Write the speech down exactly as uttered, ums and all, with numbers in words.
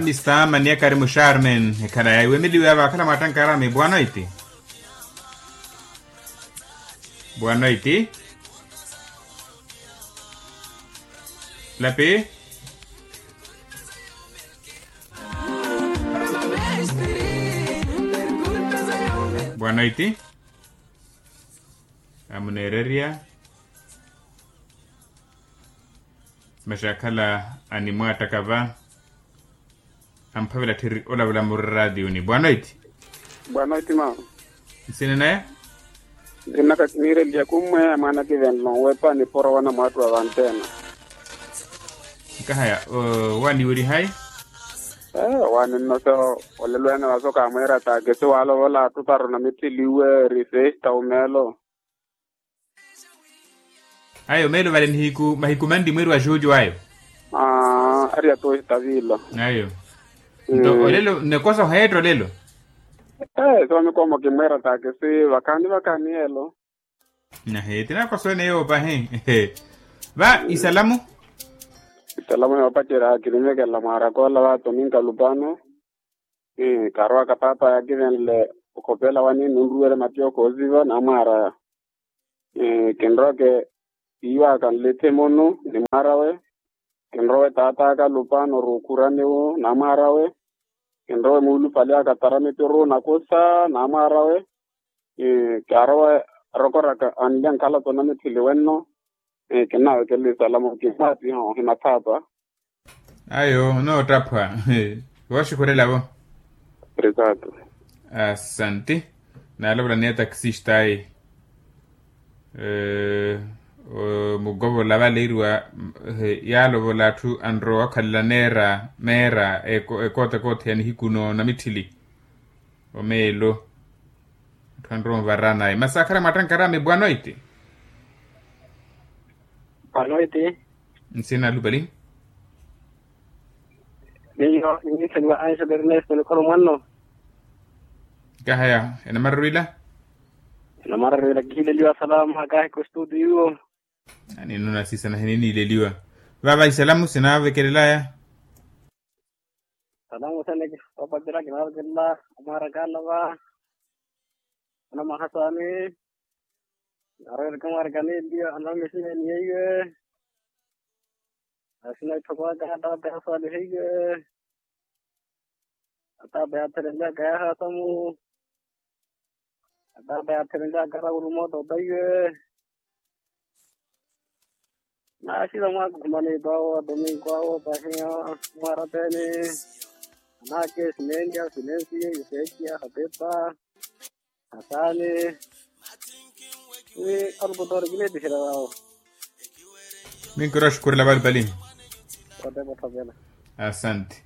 Mista maniakari musharmen ekhala yaiwemeliwa vakhala mwattankaraami bwanoiti. Bwanoiti. Lapi. Bwanoiti. Amuneererya. Maxakhala animwaattaka va. Amphavela tthiri olavula muri ratiyuni bwanoiti. Bwanoiti mama. Nsina naya. Nsina naka kiniireliya kummweya mwaana kivenlo nweepa niporowa na mwaattu wa vanttena. Nkahaya. Waaniwerihayi. Ee waani nno so olelo ene vaso kaamweera taakisi waalovola atthu para onamitthiliwe eri sesta omeelo. Ayo meelo vale nihiku mahiku manli mweeri wa juju ayo. Ari atohi tavila. Ayo. Nto olelo nnekosa oheetta olelo. Ee soomikomo kimweera taakisi vakhaani vakhaani elo. Nahe tinakosa ene yoopa he. Va isalamu. Isalamu yoopacerya kinivekelela mwaaraka ola va tominka lupano. Kaarowaka paapa yaakivenle okhopela wani nunruwerye mattiyo khooziva naamwaaraya. Kinroweke siiwaka nlithe munu ni mwaar'awe. Kinrowe taat'aka lupano ruukhurani wu naamwaar'awe. Kinrowe muulupali aka tara mituru nakusa naamwaar'awe. Kaarowe arokoraka anle nkhalato namitthili wenno. Kinnawekelela isalamu kimmwaatiha ohima thaapa. Ayo onoottaphwa. Wooxukhurela-vo. Asanti. Naalovola ni ataxista ayi. Mukovola vale iriwa yaalovola atthu anrowa okhalela neera meera ekootekoote ya nihiku noonamitthili. Omeelo. Atthu anrowa onvarana ayi masi akhala mwattankaraami bwanoiti. Bwanoiti. Nsina lupali. Miyo ninniitheliwa anxelo ernesto nikolo mwanno. Nkahaya enamararwila. Enamararwila kihiileliwa salama kaahikwa estudio iwo. Aninno nasisana hiniiniileliwa. Vava isalamu sinaavekelelaya. Salamu sene kipapatira kinaavekelela amwaaraka alava. Anamwaha saani. Arweereke mwaarikani eliyo anamesina eniyeiwe. Asina itthoko aka ataata yaaswaliheiwe. Ataata yaathelelaka yaahasamu. Ataata yaathelelaka arawulu moota otaiwe. Naaxila mwaakhukhumanipa awo atominku awo pahiya. Mwaarapeeni. Anaake sineenya sinensi yuseekiya hapepa. Asaani. Wi arukutoori kineetiherya wawo. Minkiro axukurela valupali. Otepa othokela. Asanti.